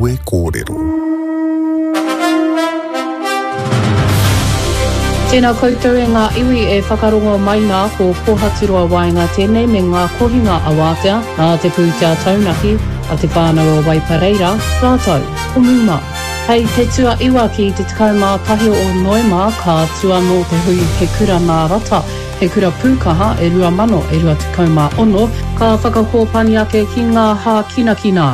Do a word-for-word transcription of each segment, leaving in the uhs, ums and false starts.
Kawe Kōrero. Tēnā koutou e ngā iwi e whakarongo mai nā ko Kōhaturoa Waenga tēnei me ngā kohinga awātea nā te pūtea taunaki a te whānau o Waipareira rātou ko Muma. Hei te tuaiwa ki te tekau mā tahi o Noema ka tū anō te hui He Kura Nā Rata, He Kura Pūkaha e rua mano e rua tekau mā ono, ka whakakōpani ake ki ngā hākinakina.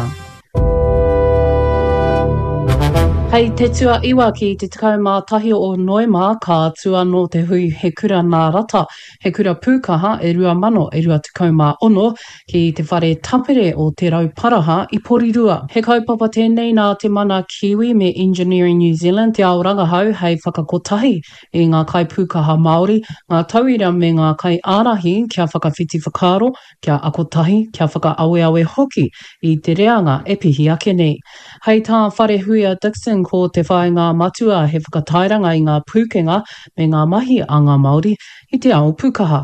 Hei te tuaiwa ki te tekau mā tahi o Noema ka tū anō te hui He Kura Nā Rata, He Kura Pūkaha e rua mano e rua tekau mā ono ki te whare tapere o Te Rauparaha i Porirua. He kaupapa tēnei nā te Mana Kiwi me Engineering New Zealand te ao rangahau hei whakakotahi i ngā kaipūkaha Māori, ngā tauira me ngā kaiārahi kia whakawhiti whakaaro, kia ako tahi, kia whakaaweawe hoki i te reanga e pihi ake nei. Hei tā Wharehuia Dixon ko te whāinga matua he whakatairanga i ngā pūkenga me ngā mahi a ngā Māori i te ao pūkaha.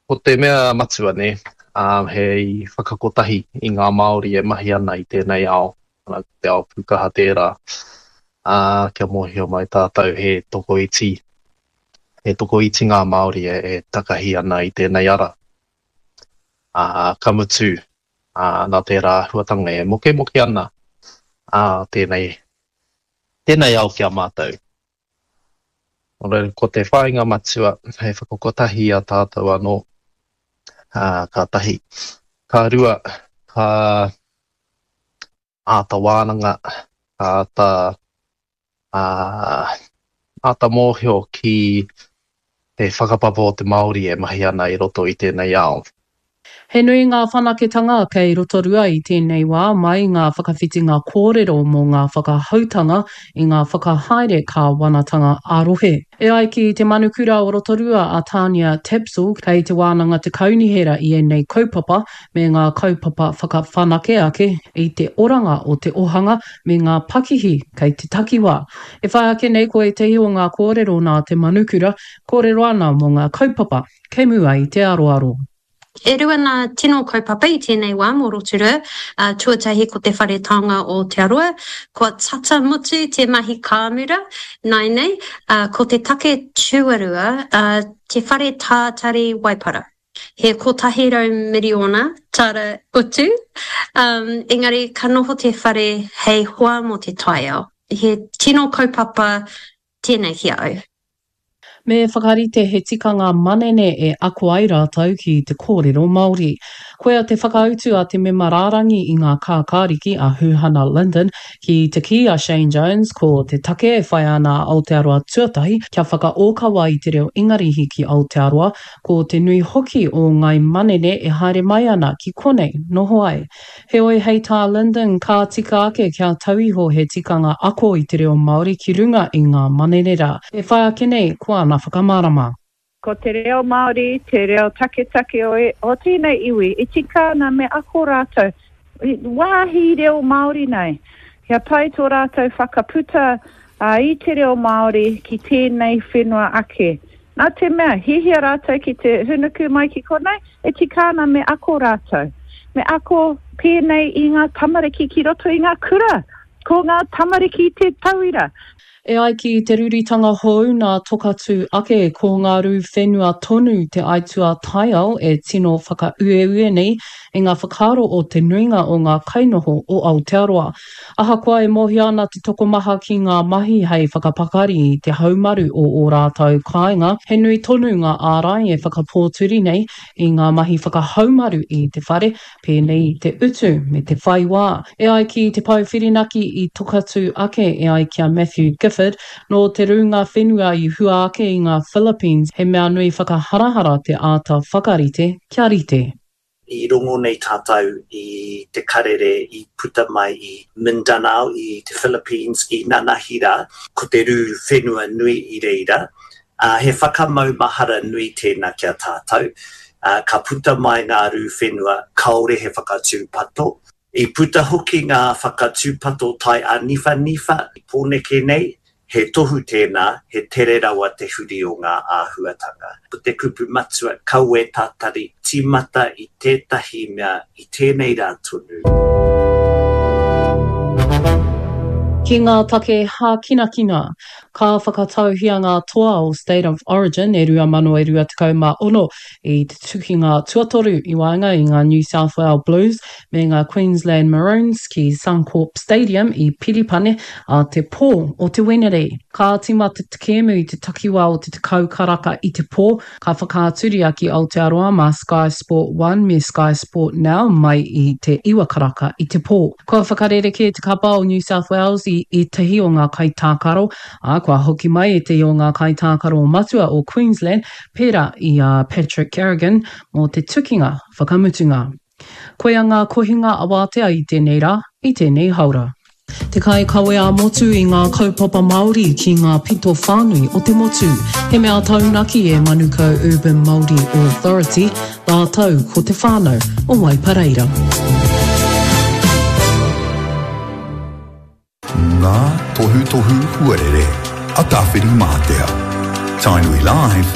Ko te mea matua nē, he whakakotahi i ngā Māori e mahi ana i tēnei ao, ko te ao pūkaha tērā, ā, kia mōhio mai tātou he tokoiti, he tokoiti ngā Māori e, e takahi ana i tēnei ara. Ā, ka mutu, ā, nā tērā āhuatanga e mokemoke ana, ā, tēnei, tēnei ao ki a mātou. Nō reira, ko te whāinga matua hei whakakotahi i a tātou anō, ā, ka tahi. Ka rua, ka āta wānanga, ka āta, ā, āta mōhio ki te whakapapa o te Māori e mahi ana i roto i tēnei ao. He nui ngā whanaketanga kei Rotorua i tēnei wā mai ngā whakawhitinga kōrero mō ngā whakahoutanga i ngā whakahaere kāwanatanga ā-rohe. E ai ki te manukura o Rotorua a Tania Tapsell kei te wānanga te kaunihera i ēnei kaupapa me ngā kaupapa whakawhanake ake i te oranga o te ohanga me ngā pakihi kei te takiwā. E whai ake nei ko ētehi o ngā kōrero nā te manukura, kōrero ana mō ngā kaupapa kei mua i te aroaro. E rua ngā tino kaupapa i tēnei wā mō Rotorua, tuatahi ko te Whare Taonga o Aotearoa, kua tata mutu te mahi kāmura nāianei, ko te take tuarua, te Whare Tātari Waipara. He kotahi rau miriona tāra utu, engari ka noho te whare hei hoa mō te taiao. He tino kaupapa tēnei ki a au. Me whakarite he tikanga manene e ako ai rātou ki te kōrero Māori. Koia te whakautu a te mema rārangi i ngā kākāriki a Huhana Lyndon ki te kī a Shane Jones ko te take e whai ana a Aotearoa Tuatahi kia whakaōkawa i te reo Ingarihi ki Aotearoa ko te nui hoki o ngāi manene e haere mai ana ki konei noho ai. Heoi hei tā Lyndon ka tika ake kia tau iho he tikanga ako i te reo Māori ki runga i ngā manene rā. E whai ake nei ko ana whakamārama. Ko te reo Māori te reo taketake o tēnei iwi, e tika ana me ako rātou wāhi reo Māori nei, kia pai tō rātou whakaputa i te reo Māori ki tēnei whenua ake. Nā te mea, hiahia rātou ki te hūnuku mai ki konei, e tika ana me ako rātou. Me ako pēnei i ngā tamariki ki roto i ngā kura. Ko ngā tamariki te tauira. E ai ki te ruritanga hou nā Tokatū ake, ko ngā rū whenua tonu te aituā taiao e tino whakaueue nei i ngā whakaaro o te nuinga o ngā kainoho o Aotearoa. Ahakoa e mōhio ana te tokomaha ki ngā mahi hei whakapakari i te haumaru o ō rātou kāinga, he nui tonu ngā ārai e whakapōturi nei i ngā mahi whakahaumaru i te whare, pēnei i te utu me te whai wā. E ai ki te pou whirinaki i Tokatū ake, e ai ki a Matthew Gifford, nō te rūnga whenua i hua ake i ngā Philippines, he mea nui whakaharahara te āta whakarite kia rite. I rongo nei tātou i te karere i puta mai i Mindanao i te Philippines i nanahi rā, ko te rū whenua nui i reira, ā, he whakamaumahara nui tēnā ki a tātou, ā, ka puta mai ngā rū whenua kāore he whakatūpato. I puta hoki ngā whakatūpato tai āniwhaniwha i Pōneke nei, He tohu tēnā, he tere rawa te huri o ngā āhuatanga. Ko te kupu matua, kaua e tatari, tīmata i tētahi mea i tēnei rā tonu. Ki ngā take hākinakina, ka whakatauhia ngā toa o State of Origin e rua mano e rua tekau mā ono i te tukinga tuatoru i waenga i ngā New South Wales Blues me ngā Queensland Maroons ki Suncorp Stadium i Piripane ā te pō o te Wenerei. Ka tīmata te kēmu i te takiwā o te tekau karaka i te pō, ka whakaaturia ki Aotearoa mā Sky Sport One me Sky Sport Now mai i te iwa karaka i te pō. Kua whakarerekē te kapa o New South Wales i ētahi o ngā kaitākaro, ā, kua hoki mai ētahi o ngā kaitākaro matua o Queensland, pērā i a Patrick Carrigan, mō te tukinga whakamutunga. Koia ngā kohinga awātea i tēnei rā, i tēnei haora. Te kaikawe ā-motu i ngā kaupapa Māori ki ngā pito whānui o te motu. He mea taunaki e Manukau Urban Māori Authority rātou ko te whānau o Waipareira. Ngā tohutohu huarere a Tāwhirimātea. Tainui Live,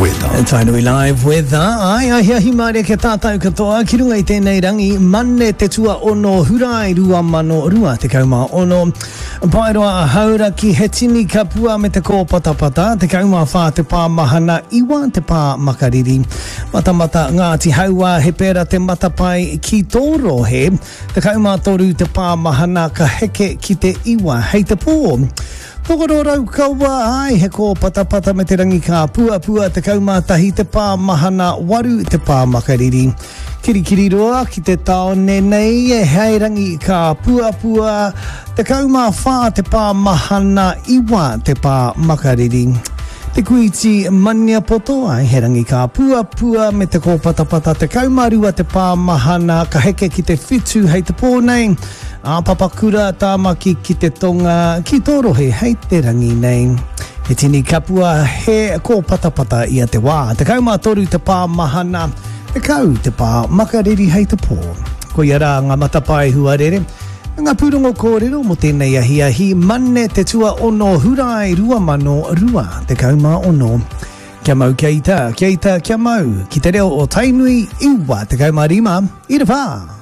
Weather. Tainui Live Weather, ai, ahiahi mārie kia tātou katoa, ki runga i tēnei rangi, Mane te tuaono Hurae rua mano rua tekau mā ono. Paeroa a Hauraki, he tini kapua me te kōpatapata, tekau mā whā te pā mahana, iwa te pā makariri. Matamata Ngāti Hauā, he pērā te matapae ki tō rohe, tekau mā toru te pā mahana ka heke ki te iwa hei te pō. Tokoro Raukawa, ai, he kōpatapata me te rangi kāpuapua, tekau mā tahi te pā mahana, waru te pā makariri. Kirikiriroa ki te tāone nei, e hei rangi kāpuapua, tekau mā whā te pā mahana, iwa te pā makariri. Te Kuiti Maniapoto, ai, he rangi kāpuapua me te kōpatapata, tekau mā rua te pā mahana, ka heke ki te whitu hei te pō nei. Ā Papakura, Tāmaki ki te tonga, ki tō rohe hei te rangi nei. He tini kapua, he kōpatapata ia te wā. Tekau mā toru te pā mahana, tekau te pā makariri hei te pō. Koia rā ngā matapae huarere, me ngā pūrongo kōrero mō tēnei ahiahi, Mane te tuaono Hurae rua mano rua tekau mā ono. Kia mau kia ita, kia ita kia mau, ki te reo o Tainui iwa tekau mā rima, ira whā!